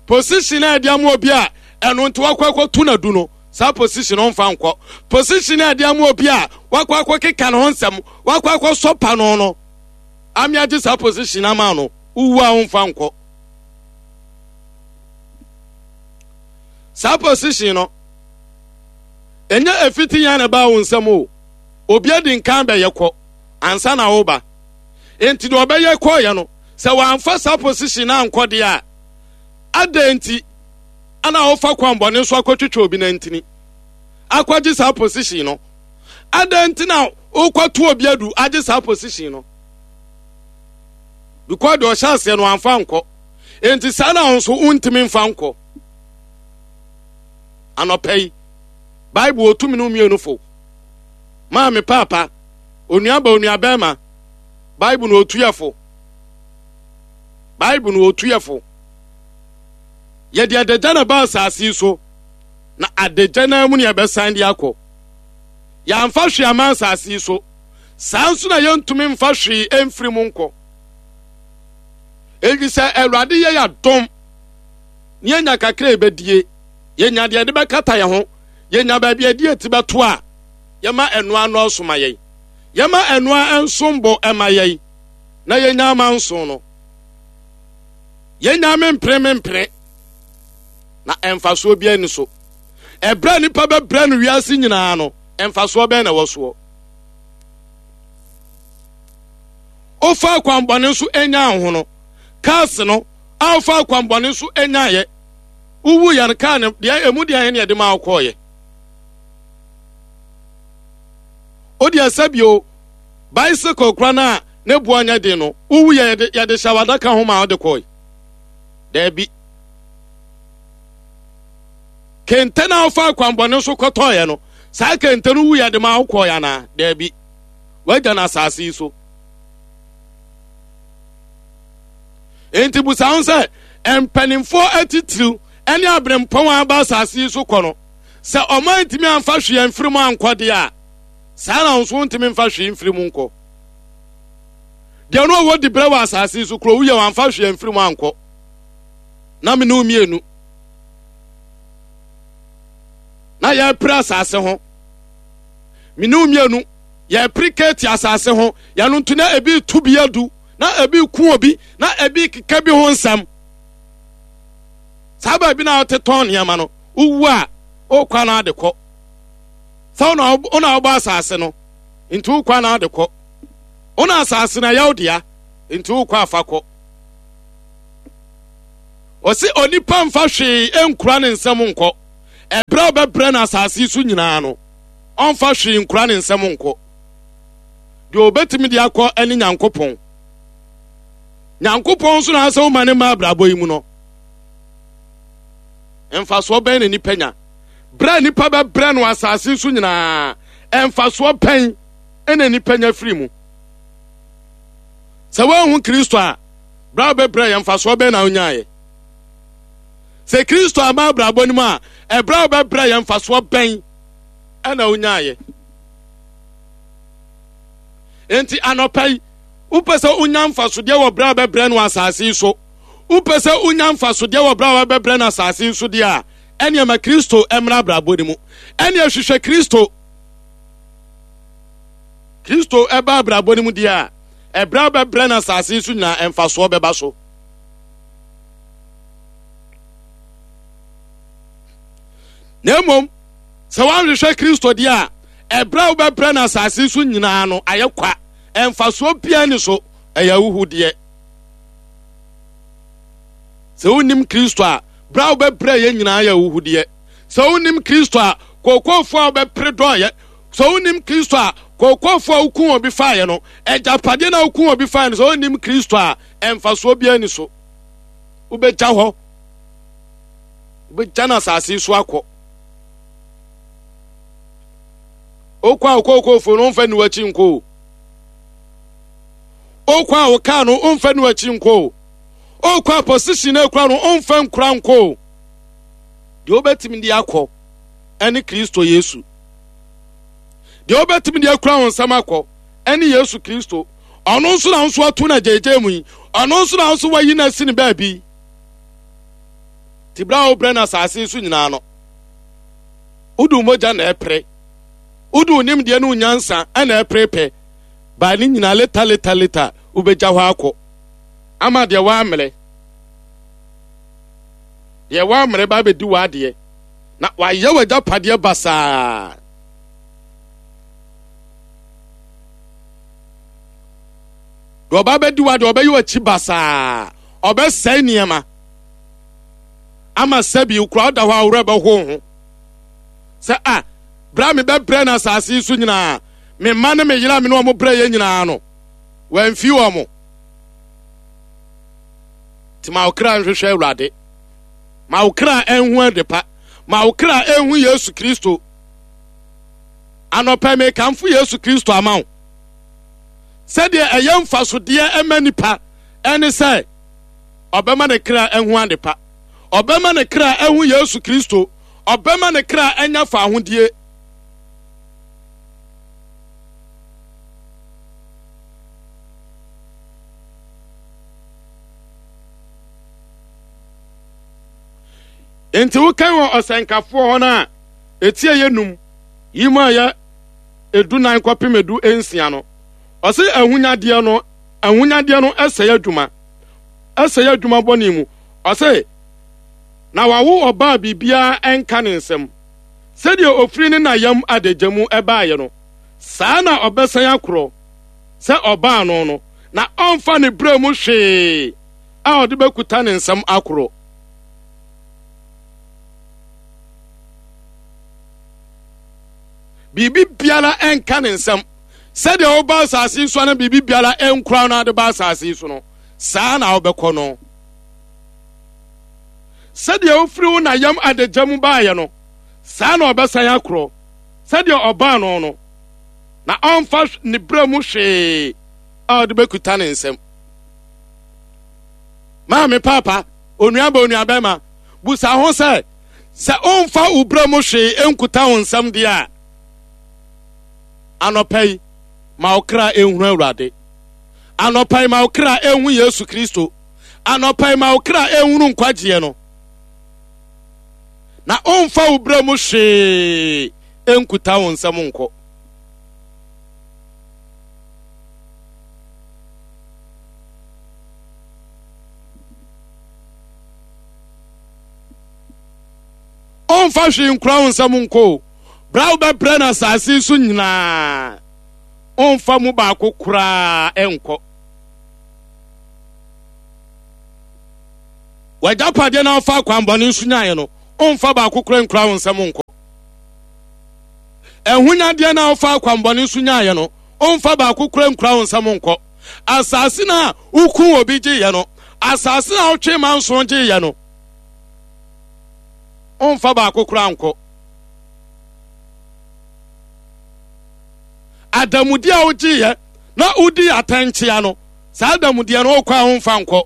position a ɛde ama obi a ɛno nti wakɔ akɔto n'adu no, saa position no womfa nkɔ. Position a ɛde ama obi a wakɔ akɔkeka ne ho nsɛm, wakɔ akɔsɔ pa no no, ame agye saa position ama no, wowu a womfa nkɔ. Saa position no, ɛnyɛ efiti yɛn na ɛbaa wo nsam o. Obi adi nkan bɛyɛ kɔ ansa na woba. Enti deɛ ɔbɛyɛ kɔɔyɛ no, sɛ wamfa saa position no ankɔ deɛ a, adɛn nti ana wofa kwanbɔne so akɔtwitwa obi nantini akɔgye saa position no? Adɛn nti na wokɔto obi adu agye saa position no? Because deɛ ɔhyɛ aseɛ no wamfa nkɔ. Enti saa na wo nso wontumi mfa nkɔ. Anɔpa yi, Bible otumi no mmienu fo. Maame, paapa, onuaba, onuabɛrima, Bible no otu yɛ fo. Bible no otu yɛ fo. Yɛde adagya na ba asase yi so, na adagya na mu ne yɛbɛsan de akɔ. Yɛamfa hwee ama asase yi so, saa nso na yɛntumi mfa hwee mfiri mu nkɔ. Enti sɛ Awurade yɛ yɛadom ne yɛnya kakra yɛbɛdie, yɛnya deɛ yɛde bɛkata yɛn ho, yɛnya baabi a yɛde yɛn ti bɛto a, yɛma ɛnoa nnɔɔso ma yɛn, yɛma ɛnoa nsom bo ɛma yɛn, na yɛnya ama nson no. Yɛnya mempere mempere, na ɛmfasoɔ biara ni so. Ɛberɛ a nipa bɛbrɛ no wiase nyinaa no, ɛmfasoɔ bɛn na ɛwɔ soɔ? Wofa akwanbɔne so nya wo ho no, cars no a wofa akwanbɔne so nyaeɛ, wowu yɛ no kaa no deɛ emu deɛ ɛne ɛde ma wokɔɔyɛ. Wo deɛ sɛbio bicycle kora no a ne boɔ nyɛ den no, wowu yɛ yɛde yɛde hyɛ w'adaka ho ma wode kɔe. Daabi. Kente no a wofa akwanbɔne so kɔtɔɔyɛ no, saa kente no wu yɛde ma wokɔɔyɛ anaa? Daabi. Wagya no asase yi so. Enti busa ho sɛ, mpanimfoɔ atitiriw ne aberempɔn a aba asase yi so kɔ no, sɛ ɔma ntumi amfa hwee amfiri mu ankɔ deɛ a, saa na nso ntumi mfa hwee mfiri mu nkɔ. Deɛ no ɔwɔ dibrɛ wɔ asase yi so kuro woyɛ wamfa hwee amfiri mu ankɔ. Na me ne wo mmienu na yɛpere asase ho. Mene mmienu yɛpere keeti asase ho, yɛno nto na ebi tu bi adu, na ebi ku obi, na ebi keka bi ho nsɛm. Saa baabi na wote tɔn nneɛma no, wowu a wokɔ na ade kɔ. Sɛ wo na wobɔ asase no, nti wokɔ na ade kɔ. Wo na asase na yɛwo dea, nti wokɔ afa kɔ. Ɔse onipa mfa hwee nkura ne nsɛm nkɔ. Ɛberɛ a ɔbɛbrɛ no asase so nyinaa no, ɔmfa hwee nkura ne nsɛm nkɔ. Deɛ ɔbɛtumi de akɔ ne Nyankopɔn. Nyankopɔn nso na asɛ woma ne mma abrabɔ yi mu no. Mfasoɔ bɛn na nipa nya? Berɛ a nipa bɛbrɛ no asase so nyinaa, mfasoɔ bɛn na nipa nya firi mu? Sɛ woanhu Kristo a, berɛ a wobɛbrɛ yɛ mfasoɔ bɛn na wonyaeɛ? Sɛ Kristo ama abrabɔ no mu a, ɛberɛ a wobɛbrɛ yɛ mfasoɔ bɛn na wonyaeɛ? Enti anɔpa yi, wopɛ sɛ wonya mfasodeɛ wɔ berɛ a wobɛbrɛ no asase yi so, wopɛ sɛ wonya mfasodeɛ wɔ berɛ a wobɛbrɛ no asase yi so deɛ a, ɛneɛ ma Kristo mmra abrabɔ no mu. Ɛneɛ hwehwɛ Kristo. Kristo ɛba abrabɔ no mu deɛ a, ɛberɛ a wobɛbrɛ no asase yi so nyinaa, mfasoɔ bɛba so. Na mmom, sɛ woanhwehwɛ Kristo deɛ a, ɛberɛ a wobɛbrɛ no asase so nyinaa no ayɛ kwa. Mfasoɔ biara ni so, ɛyɛ ahuhudeɛ. Sɛ wonnim Kristo a, berɛ a wobɛbrɛ yɛ nyinaa yɛ ahuhudeɛ. Sɛ wonnim Kristo a, kookoofoɔ a wobɛpere dɔɔyɛ. Sɛ wonnim Kristo a, kookoofoɔ a woku obi faeɛ no, agyapadeɛ no a woku obi faeɛ no, sɛ wonnim Kristo a, mfasoɔ biara ni so. Wobɛgya hɔ. Wobɛgya no asase so akɔ. Okɔ a okookoofoɔ no ɔmfa nni w'akyi nkɔ o. Okɔ a wokaa no ɔmfa nni w'akyi nkɔ o. Okɔ a position no ekura no ɔmfa nkura nkɔ o. Deɛ wobɛtumi de akɔ ɛne Kristo Yesu. Deɛ wobɛtumi de akura wo nsɛm akɔ ɛne Yesu Kristo. Ɔno nso na nso ato na gyegye mu yi. Ɔno nso na nso wayi na asi ne baabi. Ti bra a wobrɛ no asase so nyinaa no, wode mogya na ɛpere. Wode nimdeɛ ne nyansa na ɛpere pɛ. Baa ne nyinaa leta leta leta wobɛgya hɔ akɔ. Ama deɛ woammerɛ. Deɛ woammerɛ ba bɛdi w'adeɛ. Na wayɛ w'agyapadeɛ basaa. Deɛ ɔba bɛdi w'adeɛ ɔbɛyɛ w'akyi basaa. Ɔbɛsɛe nneɛma. Ama sɛbi kura ɔda hɔ a worɛ bɛho ho. Sɛ a bra me bɛbrɛ no asase yi so nyinaa, me mma ne me yere a me ne wɔn brɛ yɛ nyinaa no, wɔamfi wɔn. Nti ma wo kra nhwehwɛ Awurade. Ma wo kra nhu adepa. Ma wo kra nhu Yesu Kristo. Anɔpa mekamfo Yesu Kristo ama wo. Sɛdeɛ ɛyɛ mfasodeɛ ɛma nipa ɛne sɛ ɔbɛma ne kra nhu adepa. Ɔbɛma ne kra nhu Yesu Kristo. Ɔbɛma ne kra anya fahodie. Nti wokan wɔ ɔsɛnkafoɔ hɔ no a ɛtie yɛ num yi mu a yɛ edu nan kɔpem edu nsia no, ɔse ahonyadeɛ no ahonyadeɛ no ɛsɛe adwuma, ɛsɛe adwuma bɔne mu. Ɔse na wawo ɔbaa biribiara ɛnka ne nsam. Sɛdeɛ ofiri ne nayam adagya mu ɛbaeɛ no, saa na ɔbɛsan akorɔ sɛ ɔbaa no no, na ɔmfa ne berɛ mu hwee a ɔde bɛkuta ne nsam akorɔ. Biribi biara ɛnka ne nsam. Sɛdeɛ woba asase yi so no, biribi biara ɛnkura no ade ba asase yi so no, saa na wobɛkɔ no. Sɛdeɛ wofiri wo nayam adagya mu baeɛ no, saa na ɔbɛsan akorɔ sɛdeɛ ɔbaa no no, na ɔmfa ne berɛ mu hwee a ɔde bɛkuta ne nsam. Maame, papa, onuaba, onuabɛma, busa ho sɛ, sɛ ɔmfa wo berɛ mu hwee nkuta wo nsam deɛ a, anɔpa yi, ma wo kra nhunu Awurade. Anɔpa yi, ma wo kra nhu Yesu Kristo. Anɔpa yi, ma wo kra nhunu nkwagyeɛ no. Na ɔmfa wo berɛ mu hwee nkuta wo nsam nkɔ. Ɔmfa hwee nkura wo nsam nkɔ o. Bra wobɛbrɛ no asase so nyinaa, ɔmfa mu baako koraa ɛnkɔ. W'agyapadeɛ na ɔfa akwanbɔne nso nyaeɛ no, ɔmfa baako koraa nkura wo nsam nkɔ. Ɛhonyadeɛ na ɔfa akwanbɔne nso nyaeɛ no, ɔmfa baako koraa nkura wo nsam nkɔ. Asase no a woku obi gyeeɛ no, asase no a wotwe ma nson gyeeɛ no, ɔmfa baako koraa nkɔ. Adamudeɛ a wogyeeɛ na wodi atɛnkyea no, saa adamudeɛ no wokɔ a womfa nkɔ.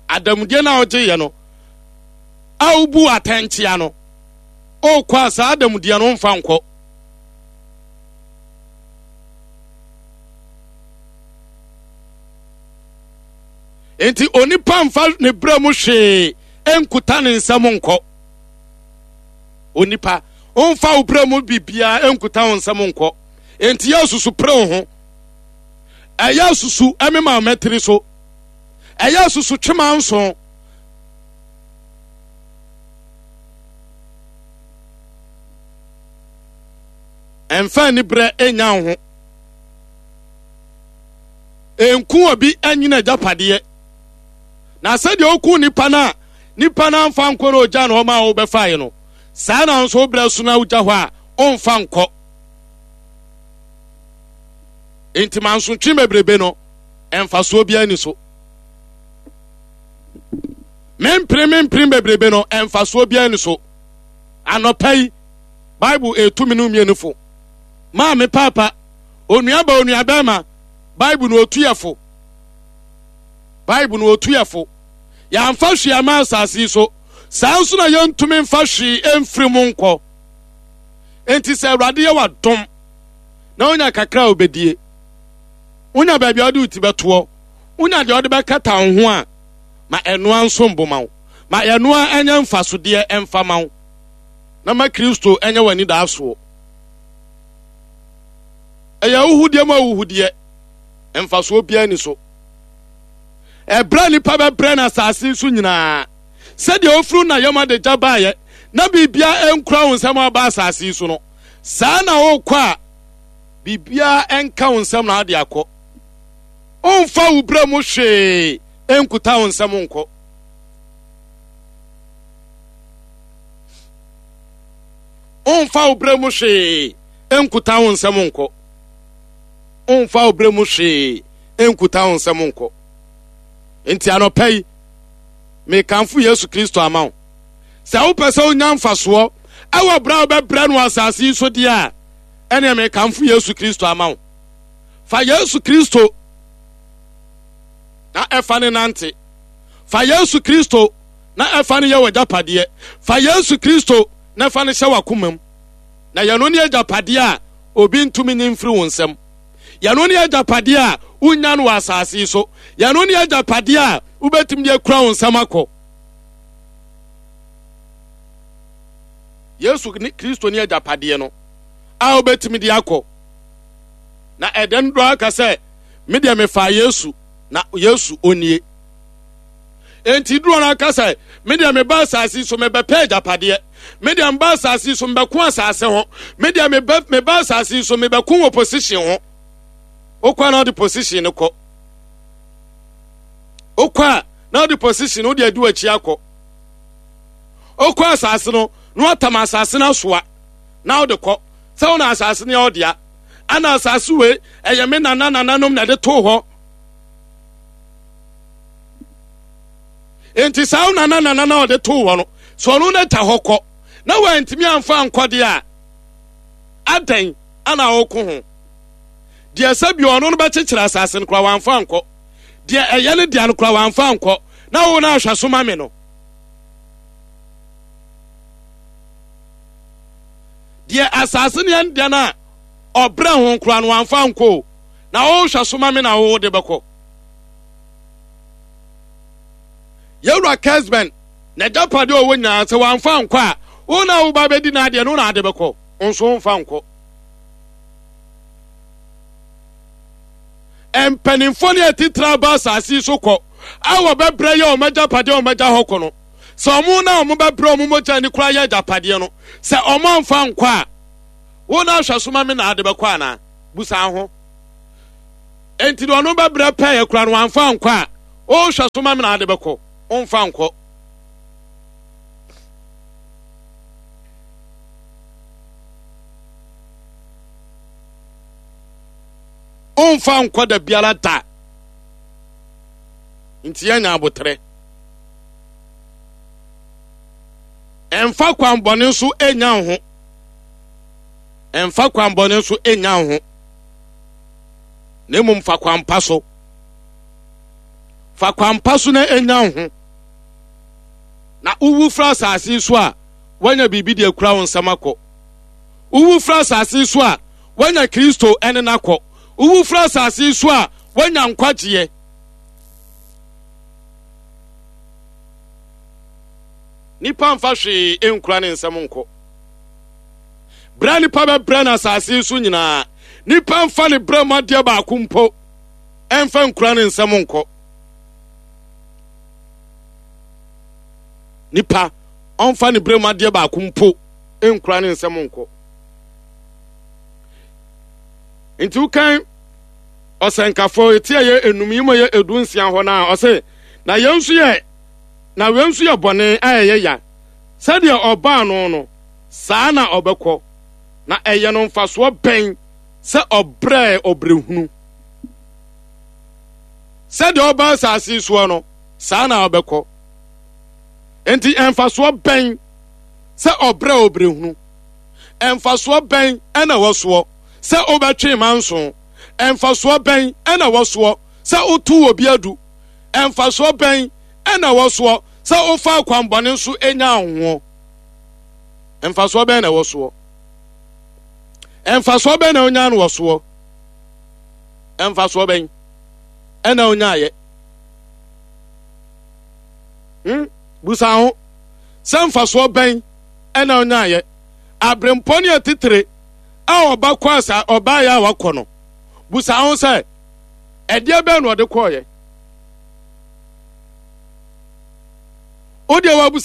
Adamudeɛ no a wogyeeɛ no a wobu atɛnkyea no, wokɔ a saa adamudeɛ no womfa nkɔ. Enti onipa mfa ne berɛ mu hwee nkuta ne nsam nkɔ. Onipa ɔmfa wo berɛ mu biribiara nkuta wo nsam nkɔ. Enti yɛ susu pere wo ho. Ɛyɛ susu ɛmema mɛtiri so. Ɛyɛ susu twema nson. Ɛmfa aniberɛ ɛnya wo ho. Enku obi anyina agyapadeɛ. Na sɛdeɛ oku nipa no a nipa no amfa nkɔ na ogya na ɔma a wobɛfaeɛ no, saa na nso wobrɛ so na wogya hɔ a ɔmfa nkɔ. Enti mansotwe bebrebe no, ɛmfasoɔ biara ni so. Mempere mempere bebrebe no, ɛmfasoɔ biara ni so. Anɔpa yi, Bible etu me no mmienu fo. Maame, paapa, onuaba, onuabɛrima, Bible no otu yɛ fo. Bible no otu yɛ fo. Yɛamfa hwee ama asase yi so. Saa nso na yɛntumi mfa hwee mfiri mu nkɔ. Enti sɛ Awurade yɛ w'adom na wonya kakra a wobɛdie, wonya baabi a wode wo ti bɛtoɔ, wonya deɛ wode bɛkata wo ho a, ma ɛnoa nso mboma wo. Ma ɛnoa ɛnyɛ mfasodeɛ ɛmfa ma wo. Na ma Kristo ɛnyɛ w'anidaasoɔ. Ɛyɛ ahuhudeɛ mu ahuhudeɛ, mfasoɔ biara ni so. Ɛberɛ a nipa bɛbrɛ no asase so nyinaa, sɛdeɛ ofiri na yam adagya baeɛ na biribiara nkura wo nsam aba asase so no, saa na wokɔ a biribiara nka wo nsam na ade akɔ. Ɔmfa wo berɛ mu hwee nkuta wo nsam nkɔ. Ɔmfa wo berɛ mu hwee nkuta wo nsam nkɔ. Ɔmfa wo berɛ mu hwee nkuta wo nsam nkɔ. Nti anɔpa yi, mekamfo Yesu Kristo ama wo. Sɛ wopɛ sɛ wonya mfasoɔ ɛwɔ berɛ a wobɛbrɛ no asase yi so deɛ a, ɛneɛ mekamfo Yesu Kristo ama wo. Fa Yesu Kristo na ɛfa ne nante. Fa Yesu Kristo na ɛfa ne yɛ w'agyapadeɛ. Fa Yesu Kristo na ɛfa ne hyɛ w'akoma mu. Na yɛno ne agyapadeɛ a obi ntumi nyi mfiri wo nsam. Yɛno ne agyapadeɛ a wonya no wɔ asase yi so. Yɛno ne agyapadeɛ a wobɛtumi de akura wo nsam akɔ. Yesu ne Kristo ne agyapadeɛ no a wobɛtumi de akɔ. Na ɛdɛn dodoɔ aka sɛ, me deɛ mefaa Yesu, na Yesu onie. Enti dodoɔ no aka sɛ, me deɛ meba asase so mebɛpɛ agyapadeɛ. Me deɛ meba asase so mebɛko asase ho. Me deɛ meba meba asase so mebɛko wɔ position ho. Wokɔ a na wode position no kɔ. Wokɔ a na wode position no wode adi w'akyi akɔ. Wokɔ asase no na watam asase no asoa na wode kɔ. Sɛ wo na asase no yɛ wo dea. Ana asase wei ɛyɛ me nana nananom na ɛde too hɔ. Enti saa wo nana nana na ɔde too hɔ no, sɛ ɔno na ta hɔ kɔ na wantumi amfa ankɔ deɛ a, adɛn ana ɔko ho? Deɛ sɛ bi ɔno no bɛkyekyere asase no koraa wamfa ankɔ. Deɛ ɛyɛ ne deɛ no koraa wamfa ankɔ. Na wo na ahwɛ so ma me no. Deɛ asase no yɛ ne deɛ no a ɔbrɛ ho koraa no wamfa ankɔ o. Na wohwɛ so ma me na wo de bɛkɔ. Yɛwura Kesben na agyapadeɛ ɔwɔ nyinaa sɛ wamfa ankɔ a, wo na woba bɛdi n'adeɛ no na ade bɛkɔ. Nso womfa nkɔ. Mpanimfoɔ ne atitire aba asase yi so kɔ a wɔbɛbrɛ yɛ wɔn agyapadeɛ a wɔagya hɔ kɔ no, sɛ wɔn na wɔbɛbrɛ wɔn mogya ani koraa yɛ agyapadeɛ no, sɛ wɔn amfa nkɔ a, wo na ahwɛ so ma me na ade bɛkɔ anaa? Busa ho. Enti deɛ ɔno bɛbrɛ pɛyɛ koraa no wamfa nkɔ a, wohwɛ so ma me na ade bɛkɔ, womfa nkɔ. Womfa nkɔ da biara da. Nti yɛnya aboterɛ. Ɛmfa kwanbɔne nso ɛnya wo ho. Ɛmfa kwanbɔne nso ɛnya wo ho. Na mmom fa kwampa so. Fa kwampa so na ɛnya wo ho. Na wowu firi asase so a, woanya biribi de akura wo nsam akɔ. Wowu firi asase so a, woanya Kristo ne no akɔ. Wowu firi asase so a, woanya nkwagyeɛ. Nipa mfa hwee nkura ne nsam nkɔ. Berɛ a nipa bɛbrɛ no asase so nyinaa, nipa mfa ne berɛ mu adeɛ baako mpo ɛmfa nkura ne nsam nkɔ. Nipa ɔmfa ne berɛ mu adeɛ baako mpo nkura ne nsam nkɔ. Nti wokan ɔsɛnkafo eti a yɛ enum yi mu yɛ edu nsia hɔ no a, ɔse na yɛn nso yɛ na wei nso yɛ bɔne a ɛyɛ ya. Sɛdeɛ ɔbaa no no, saa na ɔbɛkɔ. Na ɛyɛ no mfasoɔ bɛn sɛ ɔbrɛɛ ɔbrɛhunu? Sɛdeɛ ɔbaa asase soɔ no, saa na ɔbɛkɔ. Enti mfasoɔ bɛn sɛ ɔbrɛ ɔbrɛhunu? Mfasoɔ bɛn ɛna wɔ soɔ sɛ wobɛtwe manso? Mfasoɔ bɛn ɛna wɔ soɔ sɛ wotu obi adu? Mfasoɔ bɛn ɛna wɔ soɔ sɛ wofa akwanbɔne nso nya ahoɔ? Mfasoɔ bɛn na ɛwɔ soɔ? Mfasoɔ bɛn na wonya no wɔ soɔ? Mfasoɔ bɛn ɛna wonyaayɛ? Hmm? Busa ho sɛ mfasoɔ bɛn ɛna wonyaayɛ? Aberempɔ ne atitire a ɔba kɔ asa ɔbaayɛ a wakɔ no, busa ho sɛ ɛdeɛ bɛn na ɔde kɔɔyɛ? Wodeɛ wabusa